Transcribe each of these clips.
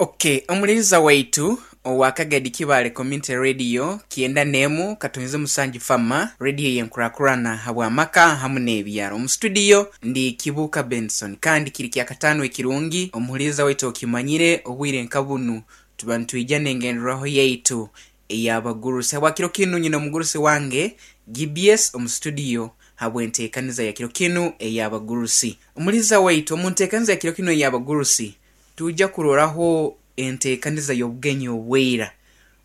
Ok, omuhuririza waitu owa Kagadi Kibaale Community Radio kyenda n'emu katonyize musanju Fama, radio ey'enkurakurana habw'amaka hamu n'ebyaro. Omu studio ndi Kibuuka Benson kandi kiri kyakataano ekirungi omuhuririza waitu okimanyire obwire nka bunu tuba nitwija n'engenderwaho yaitu ey'abagurusi. Habwa kiro kinu nyine omugurusi wange GBS omu studio habw'enteekaniza ya kiro kinu ey'abagurusi. Omuhuririza waitu omu nteekaniza ya kiro kinu ey'abagurusi Twija kuroraho enteekaniza y'obugenyi obw'eira.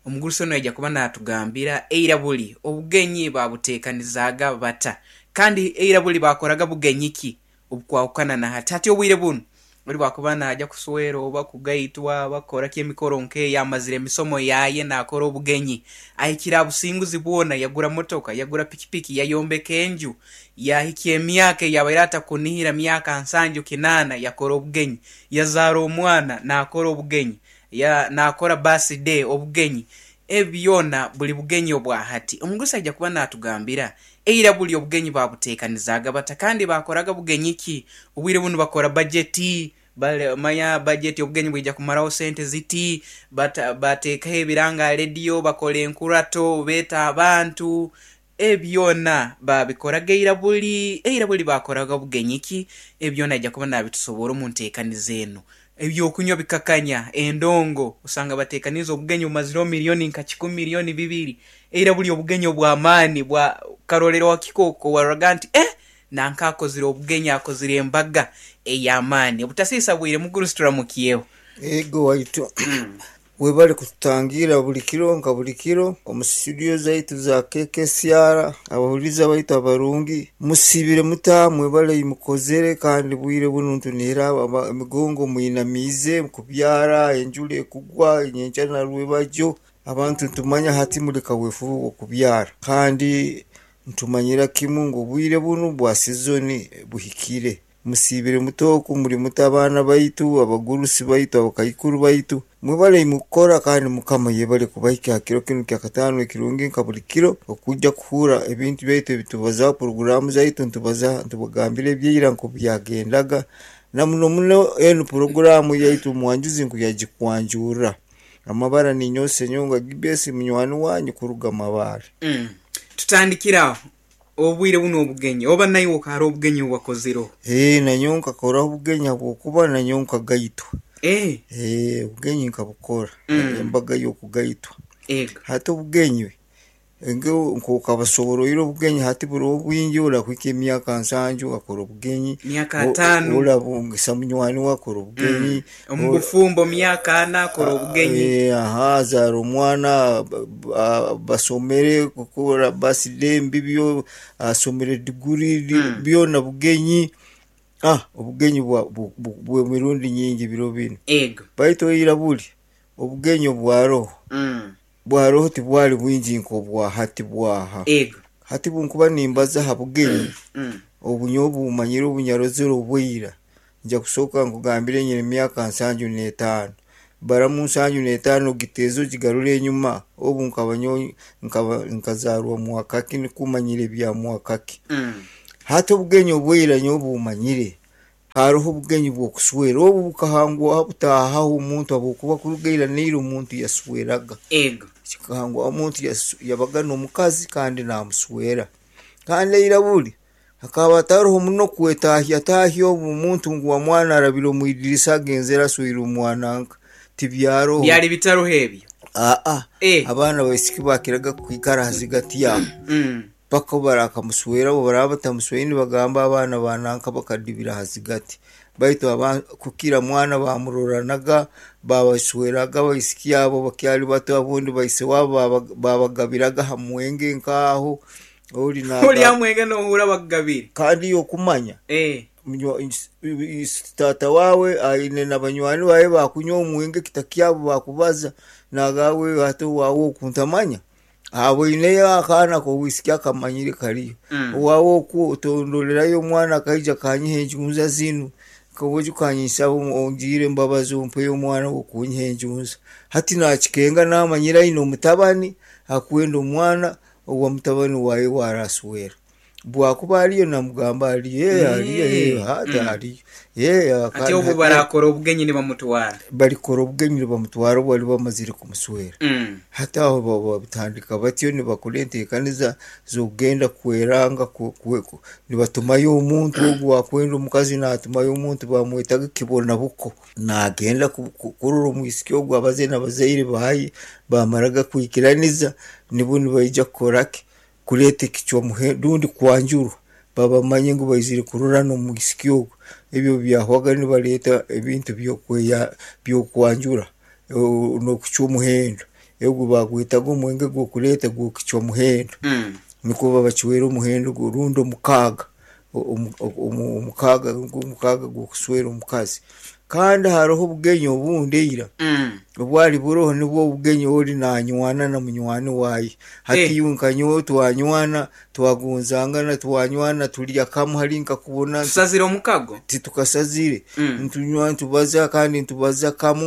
Omugurusi onu aija kuba naatugambira eira buli obugenyi baabuteekanizaaga bata, kandi eira buli baakoraga bugenyi ki obukwahukana na hati. Hati obwire bunu, ori bw'akuba naaja kuswera oba kugaitwa oba kukora ki emikoro nk'eyo, amazire emisomo yaaye naakora obugenyi, ahikire aha businguzi bwona, yagura motoka, yagura pikipiki, yayombeka enju, Yaahikya emyaka ei abaire atakunihira, myaka nsanju kinaana, yakora obugenyi. Yazaara omwana, naakora obugenyi. Ya, naakora birthday, obugenyi. Ebi byona buli bugenyi obwa hati. Omugurusi aija kuba naatugambira, eira buli obugenyi baabuteekanizaaga bata kandi baakoraga bugenyi ki? Obwire bunu bakora bajeti, bale, manya bajeti obugenyi bwija kumaraho sente ziti, bata, bateekaho ebiranga aha rediyo, bakora enkurato, beeta abantu. Ebi byona baabikoraga eira buli eira buli baakoraga bugenyi ki? Ebi byona aija kuba naabitusoboora omu nteekaniza enu. Eby'okunywa bikakanya, endongo, osanga bateekaniize obugenyi bumazireho milioni nka kikumi, milioni bibiri. Eira buli obugenyi obw'amaani bwa karorero hakikooko waroraga nti, Eh! Nanka akozire obugenyi, akozire embaga ey'amaani. Obutasiisa bwire mugurusi turamukyeho. Ego waitu. Webale kututangiira buli kiro nka buli kiro omu situdiyo zaitu za KKCR. Abahuririza baitu abarungi, musiibire muta? Mwebale ei mukozere kandi bwire bunu nitunihira emigongo mwinamiize kubyara, enjura ekugwa nyenkya na rwebagyo. Abantu nitumanya hati muli kaweefube w'okubyara kandi nitumanyira kimu ngu obwire bunu bwa sizoni buhikire. Musiibire muta oku? Muri muta abaana baitu, abagurusi baitu, abakaikuru baitu? Mwebale imwe kukora kandi Mukama yebale kubahikya ha kiro kinu kyakataano ekirungi nka buli kiro okwija kuhurra ebintu byaitu ebitubazaho, puroguraamu zaitu nitubaza nitubagambira ebyaira nkoku byagendaga na muno muno enu puroguraamu yaitu omwanjuzi nku yagikwanjurra. Amabara ninyowe Ssenyonga Gibesi munywani wanyu kuruga Mabaale. Tutandikire aho. Obwire bunu obugenyi, oba naiwe hariho obugenyi obu wakozireho? Ee, nanyowe nkakoraho obugenyi habwokuba nanyowe nkagaitwa. Ee. Ee, obugenyi nkabukora, embaga y'okugaitwa. Ego. Hati obugenyi, nk'okabasoboroire obugenyi hati buroho bwingi, orakuhika emyaka nsanju akora obugenyi, Myaka ataano. orabungisa munywani we akora obugenyi. Omu bufumbo myaka ana akora obugenyi. Ee, aha, azaara omwana. Basomere kukora birthday mbibyo, asomere diguri byona bugenyi. Obugenyi bw'emirundi nyingi biro binu. Ego. Baitu eira buri obugenyi obwaroho bwaroho tibwali bwingi nk'obwa hati bwaha. Ego. Hati bunkuba nimbaza ha bugenyi obu nyowe bumanyire obunyarozere obw'eira, Nja kusooka nkugambire nyine emyaka nsanju n'etaano. Baramu nsanju n'etaano ogiteeze ogigarure enyuma, obu nkaba nyowe nkaba nkazaarwa mwaka ki nikwo manyire ebya mwaka ki. Hati obugenyi obw'eira nyowe bumanyire, haroho obugenyi bw'okuswera, obu bukahangwaho butaahaho omuntu habwokuba kuruga ira n'eira omuntu yasweraga. Ego. Kikahangwaho omuntu yabaga n'omukazi kandi naamuswera. Kandi eira buri Hakaba hatariho muno kwetaahyataahya obu omuntu ngu wamwana arabire omu idirisa agenzere asweire omwana nka. Tibyaroho. Byali bitaroho ebyo? Aa. Eh. Abaana baisiki bakiraga kwikara ha zigati aho paka obu barakamuswera obu baraaba batamusweire nibagamba abaana ba nanka bakadibira ha zigati. Baitu aba kukira mwana bamuroranaga, babasweraga abaisiki abo bakyali bato obundi baise wabo babagabiraga ha mwenge nk'aho. Ori Ori naga aha mwenge nohurra bakugabire. Kandi iwe okumanya Eh. munywa- is- tata wawe aine na banywani bawe bakunywa omwenge ekita kyabo bakubaza nagawe hati owawe oku ntamanya aboineyo akaana k'obwisiki akamanyire kariyo owawe oku otondorerayo omwana akaija akanyiha enjunza zinu koboja okanyisaba ongirire embabazi ompeyo omwana w'okunyiha enjunza hati nakikenga namanyire aine omutabani akwenda omwana owa mutabani waye owaraswera. Bwakuba ariyo namugamba ariyo, ee ariyo, ee hati ariyo. Ee Ati kandi obu hati barakora obugenyi nibamutwara. Balikora obugenyi nibamutwara obu bali bamazire kumuswera. Hati aho babutandika batyo nibakora enteekaniza z'okugenda kweranga nibatumayo omuntu ogu wakwenda omukazi naatumayo omuntu bamwetaga kibonabuko. Naagenda kurora omwisiki ogu abaze n'abazaire baaye baamaraga kwikiraniza nibwo nibaija kukora ki? Kureeta ekicwa muhendo rundi kwanjurwa babamanye ngu baizire kurora n'omwisiki ogu. Ebyo obu byahwaga nibareeta ebintu by'okwanjura n'okucwa omuhendo. Ogu baagwetaga omwenge gw'okureeta gw'okucwa muhendo. Nikwo babacwera omuhendo rundi omukaaga, omukaaga nigwo omukaaga gw'okuswera omukazi. Kandi hariho obugenyi obundi eira obwari buroho nibwo obugenyi ori nanywana na munywani waaye. Hati iwe nka nyowe twanywana, twagonzangana, twanywana turya kamwe hari nkakubona. Tusazire omukago? Titukasazire. Nitunywa nitubaza kandi nitubaza kamu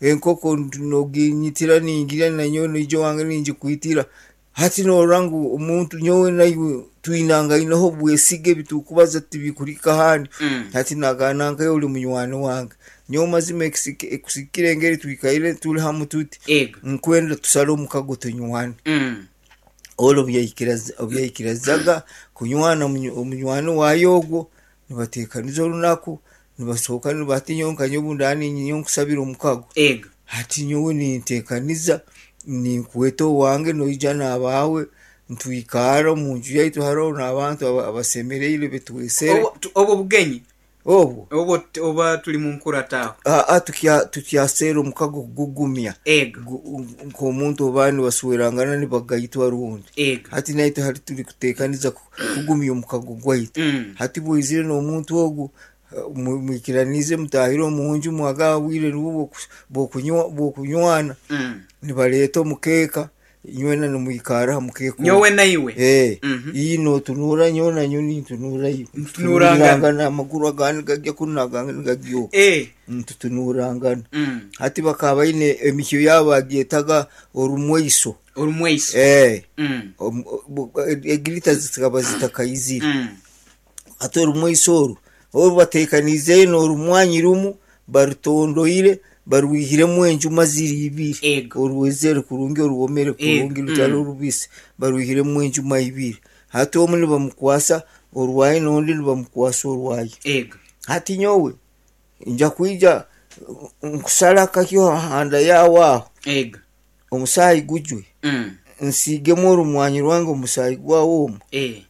enkoko noginyitira ningirya nanyowe noija owange ningikwitira. Hati norora ngu omuntu nyowe naiwe twinangaineho obwesige ebi turikubaza tibikuhika ahandi. Hati nagamba nanka ori munywani wange. Nyowe mazima ekusikire engeri twikaire turi hamwe tuti, nkwenda tusare omukago tunywane. Ori obu yaikirizaga kunywana omunywani waaye ogwo, nibateekaniza orunaku, nibasohoka hati nyowe nka nyowe obu ndaba niinyija nkusabire omukago, hati nyowe ninteekaniza ninkweta owange noija n'abaawe nitwikaara omu nju yaitu hariho n'abantu abasemereire betwesere. Obwo bugenyi Obwo. Obwo oba turi mu nkurata aho. Aa tukyaseera omukago kugugumya. Ego. Nk'omuntu oba nibaswerangana nibagaitwa rundi. Ego. Hati naitwe hati turi kuteekaniza kugumya omukago gwaitu. Hati bw'oizire n'omuntu ogu mwikiraniize mutaahire omu nju mwagaba obwire nibwo bw'okunywana, nibareeta omukeeka Inywena nimwikara ha mukeeka ogu. Nyowe na iwe. Ee, ii nootunuura nyowe na nyowe nintunuura iwe. Nitunuurangana. Nitunuurangana, amaguru agandi gagya kunu n'agandi nigagya oku. Ee. Nitutunuurangana. Hati bakaba baine emihyo yaabo bagyetaga orumweiso. Orumweiso. Ee. Egirita zikaba zitakaizire. Hati orumweiso oru, oru bateekaniizeyo n'orumwanyi rumu, barutondoire, barwihiremu enjuma ziri ibiri. Ego. Orwezere kurungi, orwomere kurungi, rutari orubisi, barwihiremu enjuma ibiri. Hati omu nibamukwasa orwaye n'ondi nibamukwasa orwaye. Ego. Hati nyowe nja kwija nkusare akahyo aha nda yaawe aho, Ego. omusaayi gujwe, nsiigemu orumwanyi rwange omu musaayi gwawe omu. Ee.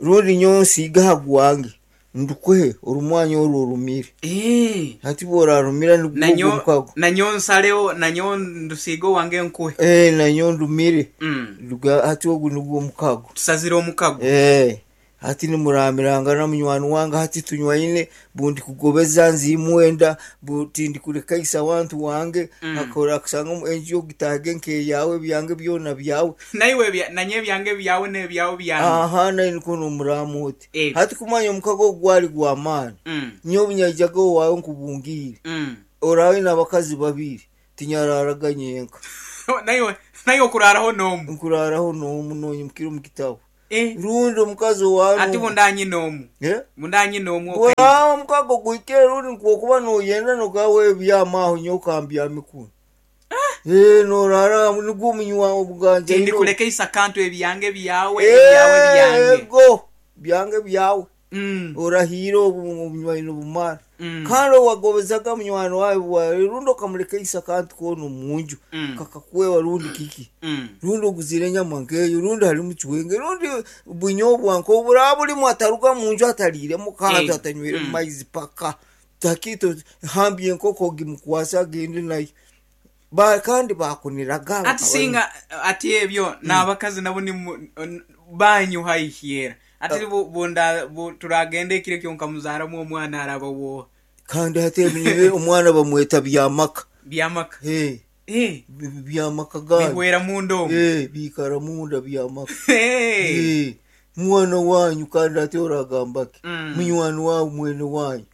Rundi nyowe nsiige aha gwange, ndukuhe orumwanya oru orumire. Eeh. Hati bw'orarumira nigwo ogwo Nanyo omukago. nanyowe nsareho, nanyowe ndusiige owange nkuhe. Eeh, nanyowe ndumire. Mm. Hati ogu nigwo omukago. Tusazire omukago. Eeh. Hati nimuramirangana munywani wange, hati tunywaine, bundikugobeza nziimwenda, tindikurekaisa wantu wange, Orakusanga enju ogitaahege nk'eyaawe, ebyange byona byawe. Naiwe ebya, nanye ebyange byawe n'ebyawe byange. Aha, nainwe nikwo noomuraama oti. Ego. Hati kumanya omukago ogu gwari gw'amaani, nyowe obu nyaijaga owaawe nkubungiire, oraabe oine abakazi babiri, tinyaraaraga nyenka. Naiwe, naiwe okuraaraho n'omu. Nkuraaraho n'omu noonyimukira omu kitabo. Eh. Rundi omukazi owaawe Ati bundanyine omu. Eh? Bundanyine omu okaija. Bwaba omukago guhikire rundi nk'okuba noyenda nogamba we byama aho nyowe kambyame kunu. Eh, noraara aho nigwo omunywa obuganjaire. Tindikuleka akantu ebyange byawe, ebyawe byange. Ego, byange byawe. Orahiire obu obunywaine obumara. Kandi owagobezaga munywani waawe rundi okamulekaisa akantu koona omu nju kakakweba rundi kiki, rundi oguzire enyama nk'eyo, rundi harimu cwenge, rundi bunyobwa nk'obu buraba burimu ataruga mu nju atariiremu kantu, atanywiremu maizi paka. Takito hambya enkoko ogimukwase agende nayo. Ba kandi baakuniraga Ati singa ati ebyo n'abakazi nabo ni banyu haihi era. Ati bu, bunda, bu, turagenda ekiro ekyo nkamuzaaramu omwana araba wooha? Kandi hati ebi nibyo omwana bamweta Byamaka. Byamaka. Ee. Ee. Byamaka ganyu. Bihwera munda omu. Ee, biikara munda Byamaka. Ee. Ee. Mwana wanyu kandi hati oragamba ki? Munywani waawe mwene wanyu.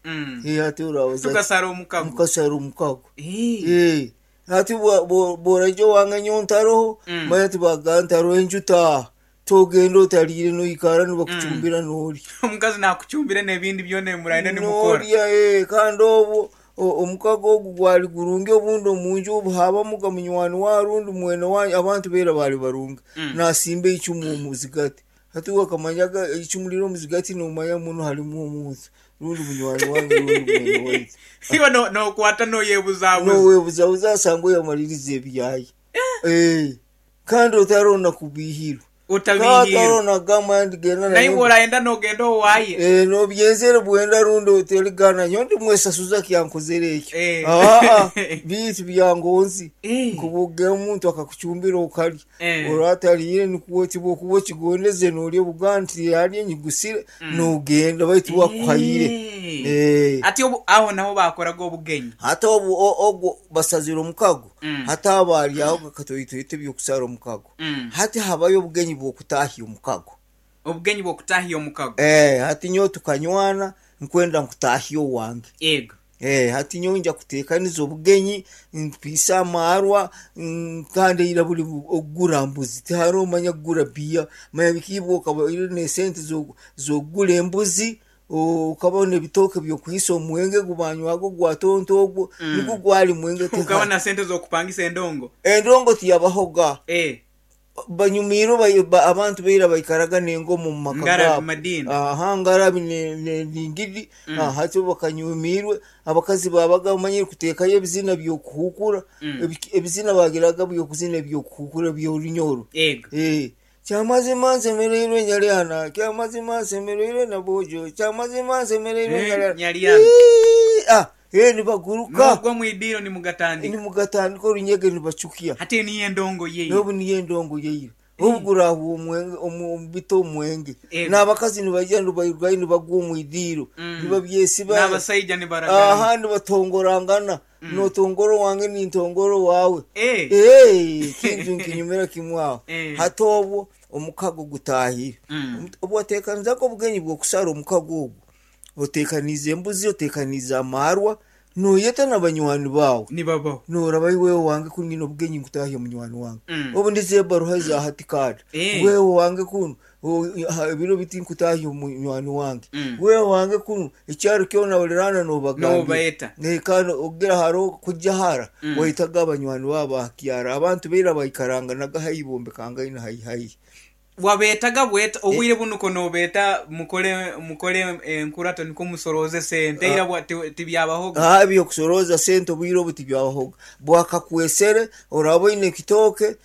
Ee, hati orabaza ki? Tukasara omukago. Mukasara omukago. Ee. Ee. Hati bw'oraija owange nyowe ntaroho, manya tibagamba ntaroho enju taaha. Togenda otariire noikara nibakucumbira norya. Omukazi nakucumbira nebindi byona ebimurayenda nimukora. Norya ee kandi obwo omukago ogu gwari gurungi obundi omunju obu habamuga munywani wawe rundi mwene wanyu abantu beera bari barungi nasimba eicumu omuzigati hati iwe okamanyaga eicumu riri omuzigati nomanya munu harimu omuntu rundi munywani wange rundi mwene waitu. Iwe nokwata noyebuzabuza. Nowebuzabuza asanga oyamaririza ebyaye ee. Kandi otarona kubiihirwa. Otabiihirwa. Otarona kugamba nti genda na Naiwe nyowe. orayenda nogenda owaaye. Eh, nobyenzere bwenda rundi otarigana nyowe ndimwesasuza kyankozere ekyo. Eh. Aa, biitu byangonzi. Eh. Nkubuga omuntu akakucumbira okarya. Eh. Oratariire nikwo tibwokuba okigondeze norya obuga nti yarya nyigusire nogenda baitu wakuhaire. Eh. Eh. Ati obu aho naho bakoraga obugenyi. Hati obu ogwo basazire omukago hati abo ari aho kakatoitoito eby'okusara omukago. Hati habayo obugenyi bw'okutahya omukago. Obugenyi bw'okutahya omukago. Eh, hati nyowe tukanywana nkwenda nkutahye owange. Yego. Eh, hati nyowe nja kutekaniza obugenyi mpiise amaarwa kandi eira buri okugura mbuzi tihariho manya kugura biya manya bikiibwa okaba oine n'esente z'okugura embuzi Okaba n'ebitooke by'okuhisa omwenge ogu banywaga ogwa tonto ogwo, nigwo gwali mwenge Okaba na sente z'okupangisa endongo? Endongo tiyabahoga. Banyumiirwe abantu baira baikaraga n'engoma omu maka Ngarabi gaabo. Madina. Aha, ngarabi n'endingidi. Hati obu bakanyumiirwe, abakazi baabaga bamanyire kuteekayo ebizina by'okuhuukura. Ebizina baagiraga by'okuzina eby'okuhuukura eby'orunyoro. Yego. Kyamazima nsemereirwe Nyalyana, kyamazima nsemereirwe Nabwojo, kyamazima nsemereirwe Eh, Nyalyana. Nyalyana. Ii, ah, eh, nibaguruka Nogwa mwidiro nimugatandika. Nimugatandika orunyege nibacukya. Hati niyo endongo yeira. N'obu niyo endongo yeira. Obu gurahwa omwenge omu omu bita omwenge. Ego. N'abakazi nibaija nibairugayo nibagwa omu idiiro. Nibabyesiba. N'abasaija nibaragana. Aha nibatongorangana. Notongora owange nintongora owaawe. Eh. Eh, kintu nkinyumira kimwe aho. Eh. Hati obwo omukago gutaahire. Obu wateekanizaga obugenyi bw'okusara omukago ogwo, oteekaniize embuzi, oteekaniize amaarwa, nooyeta na banywani baawe. Nibabaho. Nooraba iwe owange kunu nyine obugenyi nkutaahya munywani wange. Obu ndiza ebaruha eza hati kaada. Eh. Wewe owange kunu ebiro biti nkutaahya omunywani wange. Wewe owange kunu ekyaro kyona oriraana noobagambira. Noobaeta. Kandi ogira hariho kujya hara waitaga abanywani baawe ba kyaro. Abantu baira baikaranganaga haihi bombekangaine haihi haihi. Wabeetaga bweta, obwire bunu ko noobeeta mukole mukole enkurato nikwo musorooze sente. Eira bwa tibyabahoga. Aa eby'okusorooza sente obwire obu tibyabahoga. Bwakakwesere oraaba oine ekitooke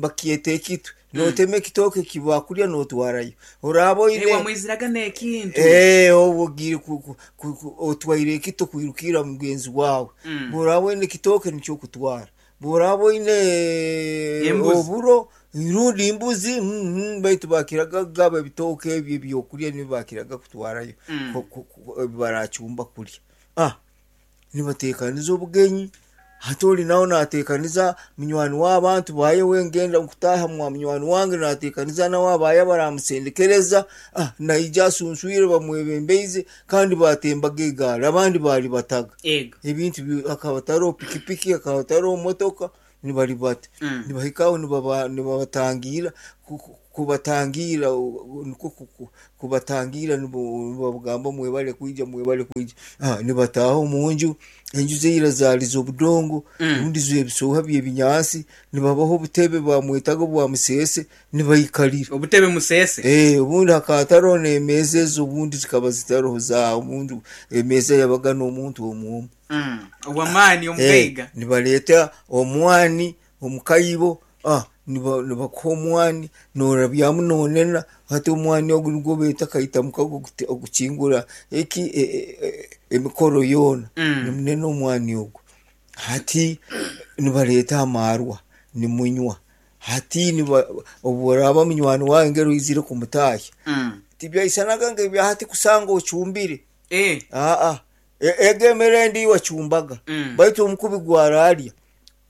bakyeta ekitwe. Nootema ekitooke eki baakurya nootwarayo. Oraaba Ee, oine. wamwiziraga n'ekintu. Ee, obu ogiire ku, ku, ku, ku, otwaire ekito kwirukirra mugenzi waawe. Bw'oraaba oine ekitooke nikyo okutwara. Bw'oraaba oine Embuzi. oburo rundi embuzi, mm, baitu baakiraga kugaba ebitooke ebyo eby'okurya nibyo baakiraga kutwarayo ku, ku, ku, ebi baraacumba kurya. Ah, Nibateekaniza obugenyi. Hati ori nawe naateekaniza munywani w'abantu baaye we ngenda kutaaha mwa munywani wange naateekaniza nawe abaaye abaraamusendekereza. Ah, naija asunswire bamwebembeize kandi baatembaga egaari abandi baaribataga. Ego. Ebintu bi hakaba tariho pikipiki, hakaba tariho motoka nibaribata. Nibahika aho nibaba nibabatangiira ku ku kubatangiira nikwo kubatangiira nibabagamba mwebale kwija, mwebale kwija. Nibataaha omu nju, enju z'eira zaali z'obudongo rundi z'ebisooha by'ebinyaatsi, nibabaha obutebe bamwetaga obwa museese nibaikarira. Obutebe museese? Ee, obundi hakaba hatariho n'emeeza ezo obundi zikaba zitaroho za obundi emeeza yabaga n'omuntu omu omu. Ow'amaani omugaiga. Nibaleeta omwani omu kaibo, nibakuha omwani norabyamu nonena, hati omwani ogu nigwo beeta kaita mukago ogukingura eki emikoro yoona, nimunena omwani ogu. Hati nibareeta amaarwa nimunywa, hati obu oraaba munywani waawe ngeri oizire kumutaahya, tibyaisanaga nk'ebya hati kusanga ocumbire, aa, ego emere endi wacumbaga baitu omukubi gwararya.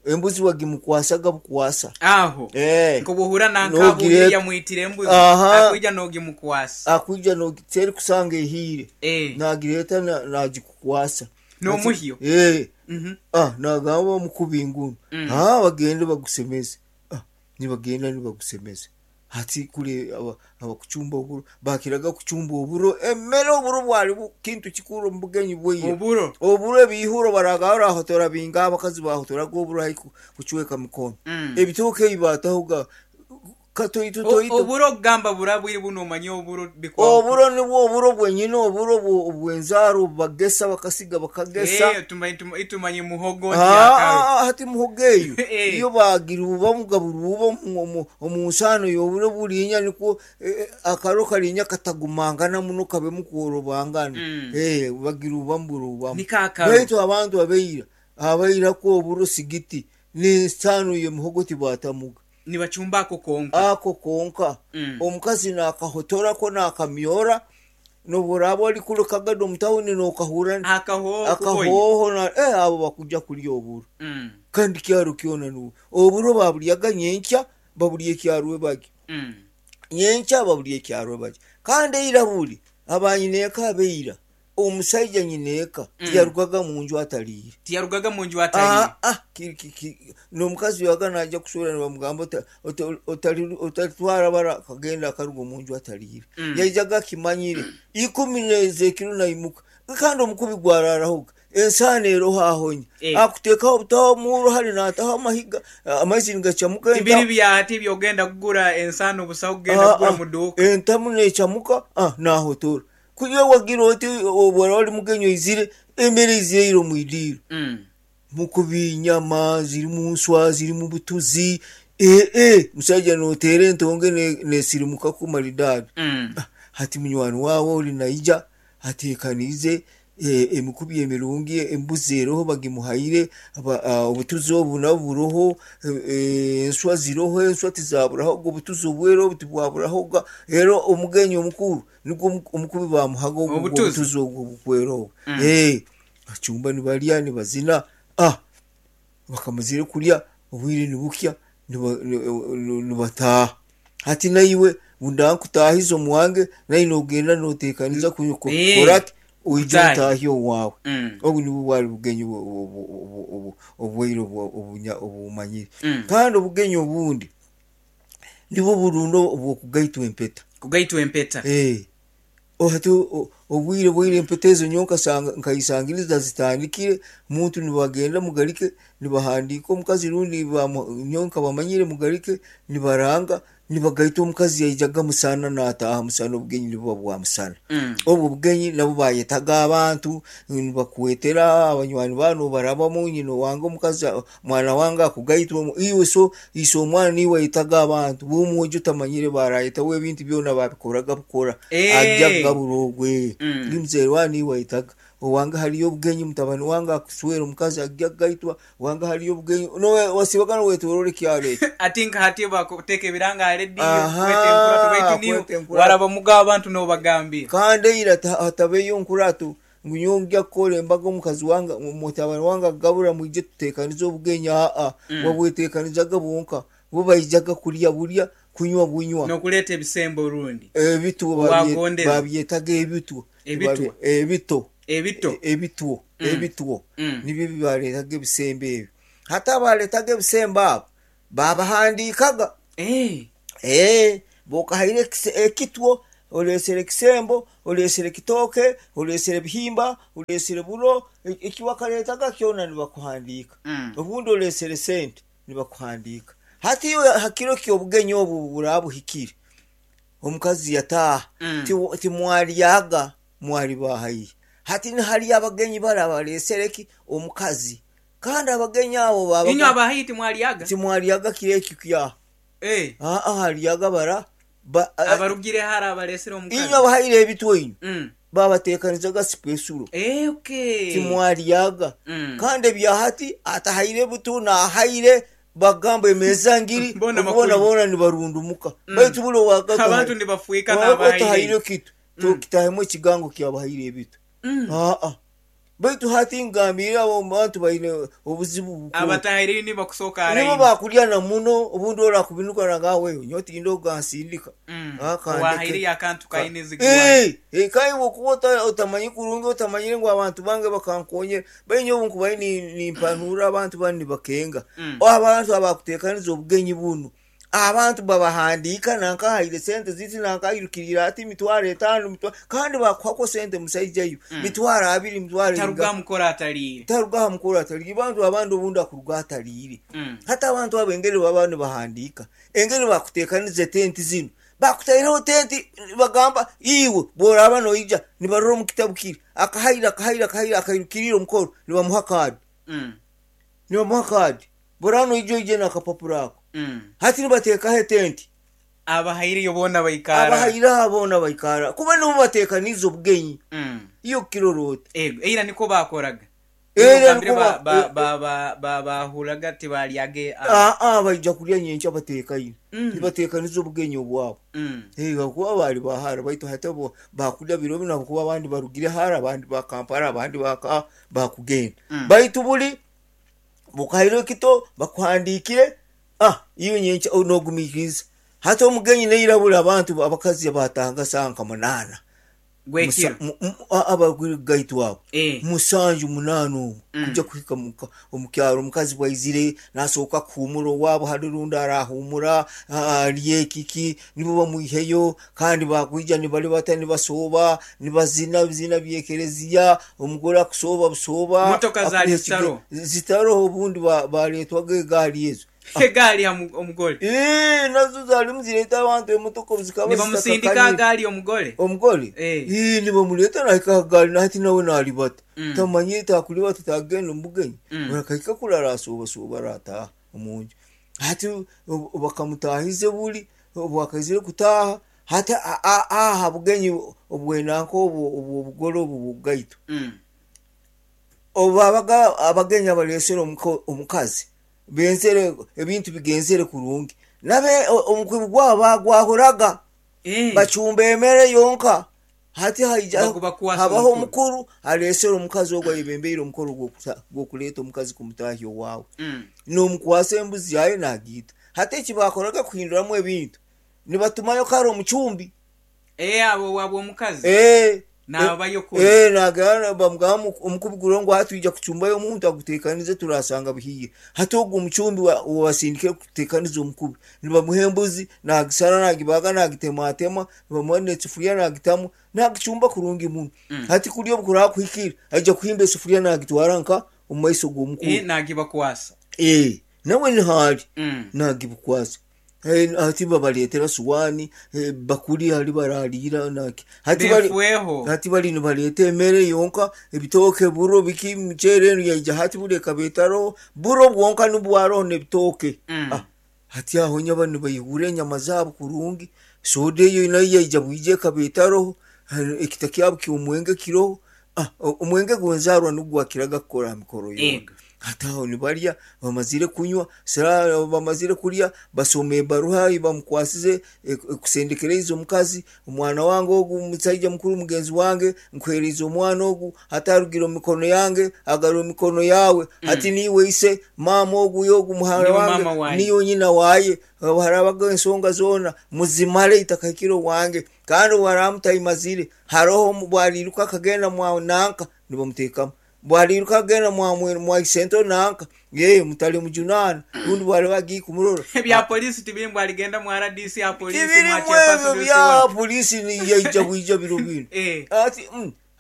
Embuzi wagimukwasaga bukwasa. Aho Eh. nk'obwohurra nanka abuuriire Nogireeta. yamwitira embuzi, Aha. akwija n'ogimukwasa. Akwija nogi terikusanga ehiire. Eh. Nagireeta na nagikukwasa. N'omuhyo. Eh. Mhm. Ah, nagamba omukubi ngunu. Ah, bagende bagusemeze. Ah, nibagenda nibagusemeza. Hati kuri abakucumba oburo bakiraga kucumba oburo emere oburo bwari kintu kikuru omu bugenyi bwaira. Oburo. Oburo ebihuro baraga orahotora binga abakazi bahotoraga oburo haihi kucweka mikono. Ebitooke ebi batahoga katoito toito. Oburo okugamba burabwire bunu omanya oburo bikwahuka. Oburo nibwo oburo bwenyine oburo obw'enzaaro obubagesa bakasiga bakagesa. Itumanye muhogo nti akaro. Aa hati muhogo eyo iyo bagiruubamu gaburuuba omu nsaano y'oburo buriinya nikwo akaro kariinya katagumangana muno kabemu kworobangana. Bagiruubamu buruubamu. Niko akaro. Baitu abantu abaira, abairaku oburo sigiti n'ensaano y'emihogo tibatamuga. Nibacumba ako konka. Ako konka. Omukazi naakahotorako naakamyora, n'obu oraabe ori kuri Kagadi omu tauni nookahurra Akahooho akahooho na eh abo bakuja kurya oburo. Kandi kyaro kyona nibwo. Oburo baburyaga nyenkya, baburya ekyarwebagyo. Nyenkya baburya ekyarwebagyo. Kandi eira buri, abanyineeka abaira, Omusaija nyineeka tiyarugaga mu nju atariire. Tiyarugaga mu nju atariire. Aa, n'omukazi yabaga naija kuswera nibamugamba otalitwara bara akagenda akaruga omu nju atariire. Yaijaga akimanyire. Ikumi n'ez'ekiro naimuka. Kandi omukubi gwararahoga. Ensaano eroho ahonya. Akuteekaho obutaho omuuro hare naataho amahiga, amaizi nigacamuka Tibiri entamu. bya hati eby'ogenda kugura ensaano busaho kugenda kugura Aa, mu duuka. entamu neecamuka, naahotora. Ku iwe wagira oti obu oraba ori mugenyi oizire, emere eizire eira omu idiiro. Mukubi nyama zirimu nswa, zirimu butuzi, ee musaija noteera entonge nesirimukaku maridadi. Hati munywani waawe ori naija ateekaniize emikubi emirungi, embuzi eroho bagimuhaire, obutuzi obu nabwo buroho, enswa ziroho, enswa tizaburahoga, obutuzi obwera obu tibwaburahoga. Reero omugenyi omukuru Nigwo omukubi baamuhaga ogwo Obutuzi. obutuzi obwo obukwera obwo. Ee, bacumba nibarya nibazina. Ah, bakamazire kurya obwire nibukya niba- ni- nibataaha. Hati naiwe ngu ndankutaahize omu wange, naiwe noogenda nooteekaniza ku- ku- Eh, kukora ki? Oije kutaaha. otaahe owaawe. Obu nibwo bwari bugenyi obu- obu- obu- obu- obwaire obu- obunya- obumanyire. Kandi obugenyi obundi nibwo burundo obw'okugaitwa empeta. Kugaitwa empeta. Ee. Hati obwire bwaire empeta ezo nyowe nkasanga nkaisangiriza zitandikire, omuntu nibagenda mugarike nibahandiika omukazi rundi nyowe nkabamanyire mugarike nibaranga nibagaita omukazi yaijaga musana nataaha musana obugenyi nibuba bwa musana. Obwo obugenyi nabwo bayetaga abantu nibakwetera abanywani baawe nobarabamu nyina owange omukazi Mwana wange akugaitwa omu iwe so ise omwana niiwe aitaga abantu b'omwojo otamanyire barayetaho ebintu byona babikoraga bukora aja kugabura ogwe ndi muzeire wawe niiwe aitaga owange hariyo obugenyi mutabani wange akuswera omukazi agya kugaitwa owange hariyo obugenyi nowe wasibaga nowetorora ekyaro ekyo. Ati nka hati bakuteeka ebiranga aha rediyo kweta enkurato Ahaa baitu niiwe kweta enkurato. waraba omuga abantu nobagambira. Kandi eira hatabeyo nkurato Ngu nyowe ngya kukora embaga omukazi wange, mutabani wange akagabura mwije tuteekanize obugenyi aa, wabweteekanizaga bwonka, bo baijaga kurya burya, kunywa bunywa. N'okuleeta ebisembo orundi Ebitwo owagondeze. babyetaga ebitwo. Ebitwa. Ebito. Ebito. Ebitwo. Ebitwo. Nibyo ebi baaleetaga ebisembo ebyo. Hati abaaleetaga ebisembo abo, Baabahandiikaga. Ee, bw'okahaire ekitwo, oreesire ekisembo, oreesire kitooke, oreesire bihimba, oreesire buro, eki wakareetaga kyona nibakuhandiika. Obundi oreesire sente, nibakuhandiika. Hati iwe ha kiro ky'obugenyi obu obu buraabe buhikire, omukazi yataaha, timwaryaga, mwari ba haihi. Hati nihariyo abagenyi bari abareesire ki? Omukazi. Kandi abagenyi abo Inywe baabaga. aba haihi timwaryaga? Timwaryaga kiro ekyo kyaha. Ee. Aa, haryaga bara, ba, Abarugire hare abareesire omukazi. Inywe abahaire ebitwe inywe, baabateekanizaga sipesulo. Ee, okay. Timwaryaga. Kandi ebya hati, atahaire buto n'ahaire, bagamba emeeza ngiri, Boona obu bakurya. boona boona nibarundumuka. Baitu buri owaaga Abantu nibafuika owaaba n'abahaire otahaire inywe. kitu, tokitahemu ekigango ky'abahaire ebitwe. Aa. Baitu hati ngambiire abo bantu baine obuzibu bukuru. Abatahaireyo nibo bakusooka Nibo haraini. bakurya na muno, obundi orakubinuka nagamba wewe nyowe tindi ogansindika. Ah, kandeke. Owahaireyo akantu kaine ezigwayo. Eh, eh, kandi bwokuba otamanyi kurungi otamanyire ngu abantu bange bakankonyera. Baitu nyowe obunkubaire nimpanura abantu banu nibakenga. Abantu abakutekaniza obugenyi bunu. Abantu babahandiika nanka ahaire sente ziti nanka airukiriire ati mitwaro etaano kandi bakuhakwo sente musaija iwe mitwaro abiri mitwaro Taruga aha mukoro atariire. Taruga aha mukoro atariire. Abantu abandi obundi akuruga atariire. Hati abantu abo engeri baba nibahandiika, engeri bakuteekaniza etenti zinu, bakutaireho tenti nibagamba iwe bworaba noija nibarora omu kitabu kiri akahaire akahaire akahaire akairukiriire omukoro nibamuha kaadi. Nibamuha kaadi. Bworaba noija oije n'akapapura ako. Hati nibateekaho etenti. Abahaireyo boona baikara. Abahaireho boona baikara. Kuba nibo bateekaniize obugenyi. Iwe okukirora ota? Ego, eira nikwo baakoraga. Eira Ogambire nikwo baahuraga tibaaryaga. Aa, baija kurya nyenkya bateekaine. Nibateekaniza obugenyi obwabo. Ahakuba baali ba hara baitu hati bo baakurya biro binu ahabw'okuba abandi barugire hara, abandi ba Kampala, abandi ba ka baakugenda. Baitu buri Bukaire ekito bakuhandiikire, ah, iwe nyenkya nogumiikiriza. Hati omugenyi neirabura abantu abakazi abatanga saaha nka munaana. Gw'ekiro. Abarugire kugaitwa abo. Eh. Musanju munaana omwo kuja kuhika muka omu kyaro omukazi bwaizire nasooka kuhuumura owaabo hali rundi arahuumura arye kiki nibo bamwiheyo kandi bakwija nibaribata nibasooba nibazina ebizina by'ekereziya Omugore akusooba busooba. Motoka zaali zitaroho? Zitaroho obundi baareetwaga egaari ezo. Egaari ha omugore? Ee, nazo zaarimu zireeta abantu emotoka obu zikaba Nibamusindika aha gaari omugore? Omugore? Ee, nibamureeta naahika aha gaari na hati nawe naaribata. Tamanyire taakuribata taagenda omu bugenyi. Akahika kuri arasoobasooba araataaha omu nju. Hati bakamutaahiza buri, obu akaizire kutaaha, Hati aha bugenyi obw'enanka obu obw'obugore obu bw'okugaitwa, obu babaga abagenyi abalesere omukazi benzere ebintu bigenzere kurungi, nabo omukubi gwabo bagwahuraga, bacumba emere yonka. Hati haija habaho omukuru alesere omukazi ogu ayebembeire omukoro gw'okuleta omukazi kumutahya owawe, n'omukwasa embuzi yaye nagiita. Hati eki bakoraga kuhinduramu ebintu, Nibatumayo kare omucumbi. Ee, aba owaabwe omukazi Ee, naabayo kuri. Ee, naagenda bamugamba omukubi guriho ngu hati twija kucumbayo omuntu aguteekanize turaashanga buhiire. Hati ogwo omucumbi owasindikire kuteekaniza omukubi, nibamuha embuzi naagishara naagibaaga naagitematema, nibamuha n'esefuriya naagitamu, naagicumba kurungi muno. Hati kuri obu kuraba kuhikire, aija kuhimba esefuriya naagitwara nka omu maiso g'omukuru. Ee, naagibakwasa. Ee, nawe niho ari, naagibukwasa. Hati babareetera suwaani, bakuri hari barariira naki. Hati bari Beefweho. hati bari nibareeta emere yonka, ebitooke, buro, biki, emiceere enu yaija hati buri ekaba etaroho, buro bwonka nibwo bwaroho n'ebitooke. Ah, hati aho nyaba nibaihura enyama zaabo kurungi, soda eyo nayo yaija bwija ekaba etaroho, ekita kyabo ky'omwenge kiroho, Ah, omwenge gw'enzaarwa nigwo gwakiraga kukora aha mikoro yoona. Ego. Hati aho nibarya, bamazire kunywa, sira bamazire kurya, basoma ebaruha ei bamukwasize ekusendekereize omukazi, omwana wange ogu musaija mukuru mugenzi wange, nkuheereize omwana ogu, hati arugire omu mikono yange, agarwire omu mikono yaawe, hati niiwe ise, maama ogu y'ogu muhara Niiwe wange, maama waaye. niiwe nyina waaye, obu haraabaga ensonga zoona, muzimare itakahikire owange. Kandi obu araabe mutaimazire, haroho obu ariiruka akagenda mwa nanka, nibamuteekamu. Obu ariiruka akagenda mwa isento nanka, yee, mutalimujunaana, rundi obu ariba agiire kumurora. Ebya poliisi tibiri mbu arigenda mu RDC aha poliisi Tibirimu mwa chairperson ebyo wese bya wona. poliisi yaija bwija biro binu. Eh. Hati,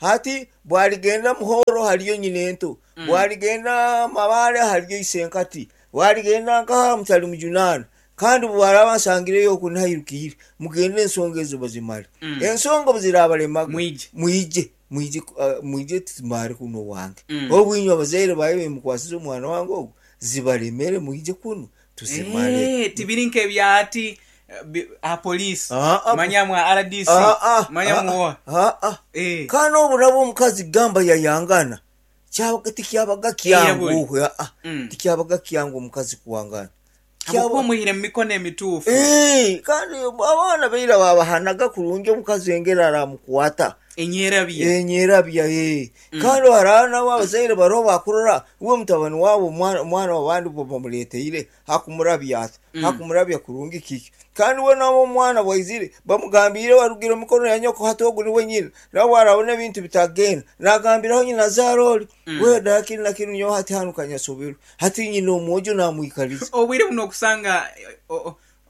hati bwarigenda Muhoro hariyo nyinento, bwarigenda Mabale hariyo isenkati, bwarigenda nkaha mutalimujunaana. Kandi obu baraaba nsangireyo oku nairukiire, mugende ensonga ezo bazimare. Ensonga obu ziraabalemaga, Mwije. mwije, mwije, mwije tuzimare kunu owange. Obu inywe abazaire baye bemukwasize omwana wange ogu, zibalemere mwije kunu tuzimare. Eh, tibiri nk'ebya hati aha poliisi, Aa, manya mwa RDC, aa, manya aa, mwoha. aa. Eh. Kandi obu nabwo omukazi gamba yayangana, kyabaga tikyabaga Eiraburi. kyangu, aa, tikyabaga kyangu omukazi kuwangana. Habwokuba omuhaire mu mikono emituufu. Ee, kandi abaana baira baabahanaga kurungi omukazi engeri aramukwata. Enyerabya. Enyerabya, ee. Kandi hariho nabo abazaire bariho baakurora iwe mutabani waabo omwana w'abandi bamureeteire hakumurabya ata, hakumurabya kurungi kiki. Kandi we nawe omwana bwaizire bamugambiire warugire omu mikono ya nyoko hati ogu niwe nyina. Nawe bwarabona ebintu bitagenda nagambiraho nyina zaara ori, we dara kinu na kinu nyowe hati hanu kanyasoberwe. Hati nyina omwojo namwikariza. Obwire buno okusanga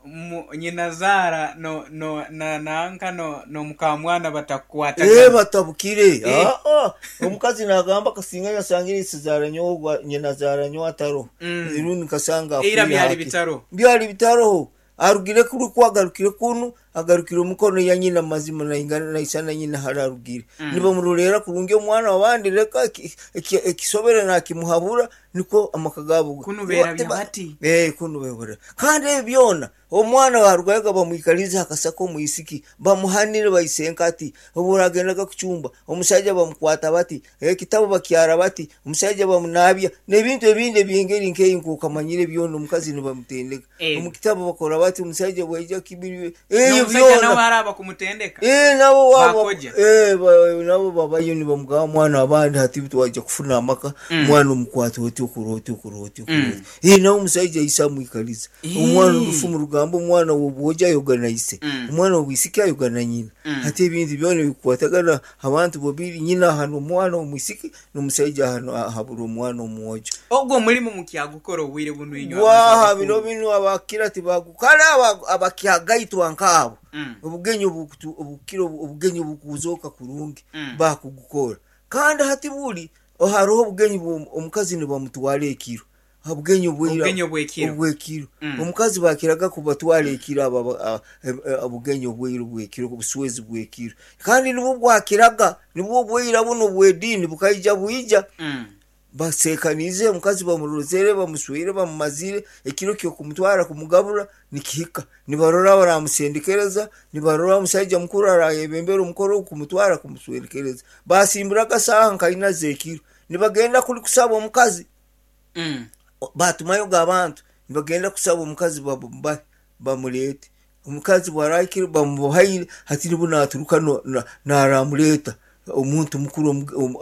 Mu, nyinazaara no, no, na, nanka no, n'omukaamwana Ee, batakukwatagana. batabukire. Eh. Aa, omukazi naagamba kasinga yasangire isizaara nyowe ogwa nyinazaara nyowe ataroho. Rundi nkasanga Eira afiire byali hati. bitaroho. Byali bitaroho. Arugire kuri ku agarukire kunu, agarukire omukono ya nyina mazima naingana naisana nyina hali arugire. Nibamuroleera kurungi omwana w'abandi reka ekisobere nakimuhabura nikwo amaka gaabo Kunu beerabya bati. Eh, kunu beebura. Kandi ebi byona omwana barugayoga bamwikalize aha kasaka omwisiki bamuhanire baisenka ati obu oragendaga kucumba omusaija bamukwata bati ekitabo bakyara bati omusaija bamunabya n'ebintu ebindi eby'engeri nk'eyi nk'okamanyire byona omukazi nibamutendeka Ego. omu kitabo bakora bati omusaija bwaija kibiri ebyo N'omusaija nawe byona araaba kumutendeka. Eh, nabo wabo Bakoja. eh, nabo babayo nibamugamba mwana abandi hati twaija kufuna amaka mwana omukwata oti okora oti okora oti okora oti eh, nawe omusaija aise amwikaliza omwana orufumu rugamba omwana w'obwojo ayoga na ise omwana w'obwisiki ayoga na nyina hati ebintu byona bikukwatagana abantu babiri nyina ahana omwana omwisiki n'omusaija ahabura omwana omwojo. Ogwo omulimu mukyagukora obwire bunu inywe abantu Waha bino abakuru? binu abakira tibagukara abakyagaitwa nkaabo obugenyi obukira obugenyi obukuzoka kurungi bakugukora kandi hati buli hariho obugenyi omukazi nibamutwara ekiro obugenyi obwira Obugenyi obw'ekiro. obw'ekiro omukazi bakiraga kubatwara ekiro abo obugenyi obwira obw'ekiro obuswezi bw'ekiro kandi nibwo bwakiraga nibwo obwira buno obw'ediini bukaija bwija basekaniize omukazi bamurozere bamuswire bamumazire ekiro ky'okumutwara kumugabura nikihika nibarora baramusendekereza nibarora omusaija mukuru arayebembera omukoro kumutwara kumuswendekereza basimburaga saaha nkaina z'ekiro nibagenda kuri kusaba omukazi batumayoga abantu nibagenda kusaba omukazi bamureete omukazi bwarahikire bamuhaire hati nibwo naturuka naramureeta omuntu mukuru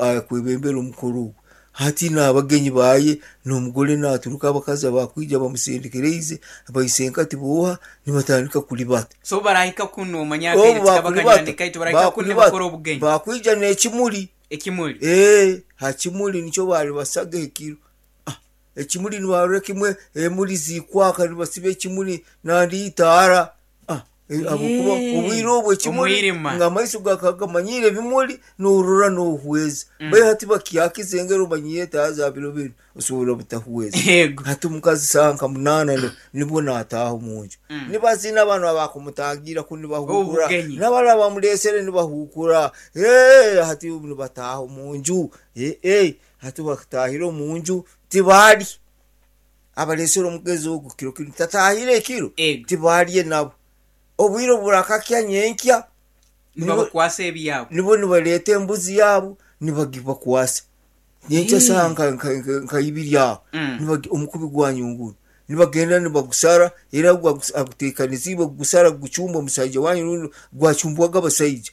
akwebembera omukoro ogwo hati n'abagenyi baye n'omugore naturuka abakazi abakwija bamusendekereize baisenka tibooha nibatandika kuribata. So barahika kunu omanya akaire Obu tikaba bakuribata kanywani kaitu barahika kunu nibakora bakuribata obugenyi. bakwija n'ekimuri. Ekimuri. Ee, ha kimuri nikyo baali basaga ekiro. Ah, ekimuri nibarora kimwe emuri zikwaka nibasiba ekimuri nandi itaara. Ah, habwokuba obwire obwo ekimuri Omwirima. nga amaiso gakagamanyire ebimuri norora nohweza. Baitu hati bakyakiza engeri omanyire etaara za biro binu osobola butahweza. Yego. Hati omukazi saaha nka munaana nibwo nataaha omunju. Nibazina banu abakumutangira ku nibahukura Obugenyi. n'abari abamureesere nibahukura. Ee, hati nibataaha omunju. Ee, hati batahire omunju tibari abareesere omugezi ogu kiro kinu tatahire ekiro Ego. tibarye nabo. Obwire burakakya nyenkya Nibabakwasa ebyabo. nibo nibareeta embuzi yaabo nibagibakwasa. Nyenkya saaha nka ibiri aho omukubi gwanyunguru nibagenda nibagusara era aguteekaniziibwe kugusara gucumba omusaija wanyu rundi gwacumbwaga abasaija.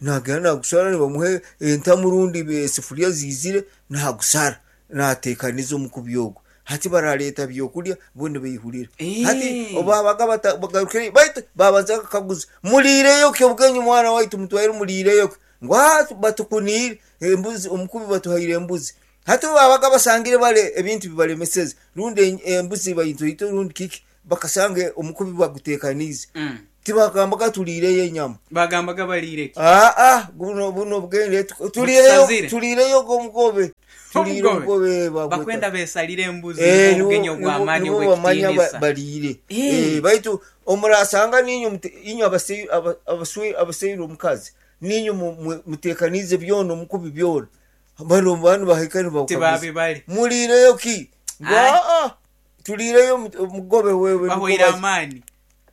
Nagenda nagusara nibamuha entamu rundi esefuriya ziizire nagusara nateekaniza omukubi ogwo. Hati barareeta byokurya bo nibeihurira. Hati obu babaga bagarukire baitu babanza kukaguza muriireyo ki obugenyi mwana waitu mutwaire muriireyo ki? Ngu batukuniire embuzi omukubi batuhaire embuzi. Hati obu babaga basangire bare ebintu bibaremeseze rundi embuzi baitoito rundi kiki bakasanga omukubi baguteekaniize. Tibagambaga turiireyo enyama. Bagambaga bariire ki? Aa buno buno obugende turiireyo Butusazire. turiireyo omugobe. Turiire Omugobe. omugobe bagweta. Bakwenda besalire embuzi Eh, obugenyi obw'amaani nibo bamanya obw'ekitiinisa. bariire. Eh. Eh, baitu omurasanga ninyu inywe abaseire omukazi ninyu muteekaniize byona omukubi byona. Bano banu bahika nibakukaguza. Tibabibare. Muriireyo ki? Ngu Ai. aa turiireyo omugobe wewe niko Bahweire amaani.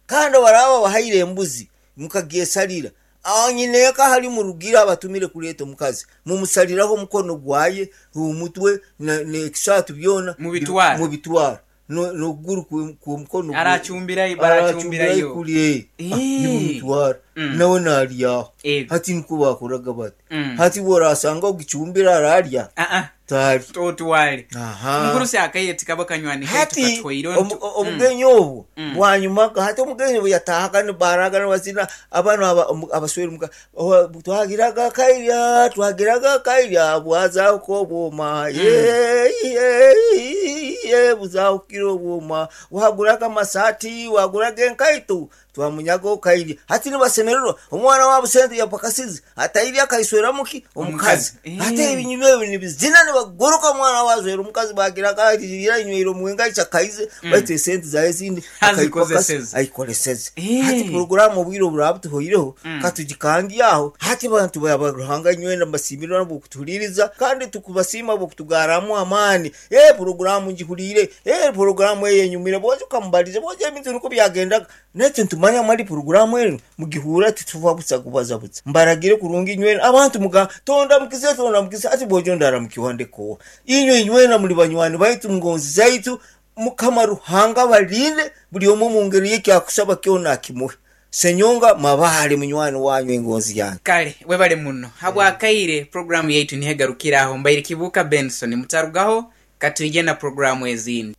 Kandi baraba bahaire embuzi mukagyesalira. Aho nyineeka hari murugira abatumire kureeta omukazi mumusaliraho omukono gwaye omutwe n'ekisaatu byona Mubitwara. mubitwara n'okuguru kw'omukono Aracumbirayo baracumbirayo. kuri nimumutwara nawe naryaho. Ego. Hati nikwo bakoraga bati. Hati bworasanga ogicumbira ararya. Ah ah. Twali. Otwale. Aha. Omugurusi akaire tikaba kanywani kaitu Hati katuhweire omu- ontu. obugenyi obwo bwanyumaga. Hati omugenyi obu yataahaga nibaraga nibazina abanu aba- omu- abaswere omuka owa- twagiraga akairya twagiraga akairya bwazahuka obwoma ye ye ye buzahukire obwoma waguraga amasaati waguraga enkaito Twamunyaga okairya. Hati nibasemererwa. Omwana waabo sente yapakasize atairya akaisweramu ki? Omukazi. Hati ebinyuma ebi nibizina nibaguruka omwana waabo aswera omukazi bagira ati ira anyweire omwenge aikya akaize baitu esente zaye ezindi Azikozeseze. ayikoleseze. Hati puroguramu obwire oburaba butuhoireho katugikangye aho. Hati abantu ba Ruhanga inywena mbasiimire ahabw'okutuhuriiriza kandi tukubasiima ahabw'okutugarramu amaani. Ee puroguramu ngihuriire, ee puroguramu eyo enyumire, bwoija okamubaliza, bwoija ebintu nikwo byagendaga. Naitwe nitumanya mali puroguramu enu mugihurra titufa busa kubaza busa. Mbaragire kurungi inywena abantu muga tondamukize tondamukize hati bwoija ondaramukiwa ndeka owa. Inywe inywena muli banywani baitu ngonzi zaitu, Mukama Ruhanga abalinde buli omu omu ngeri ye ekyakusaba kyona akimuhe. Senyonga Mabale munywani wanyu engonzi yange. Kale webale muno habw'akaire puroguramu yaitu niho egarukire aho. Mbaire Kibuuka Benson. Mutarugaho, katwije na puroguramu ezindi.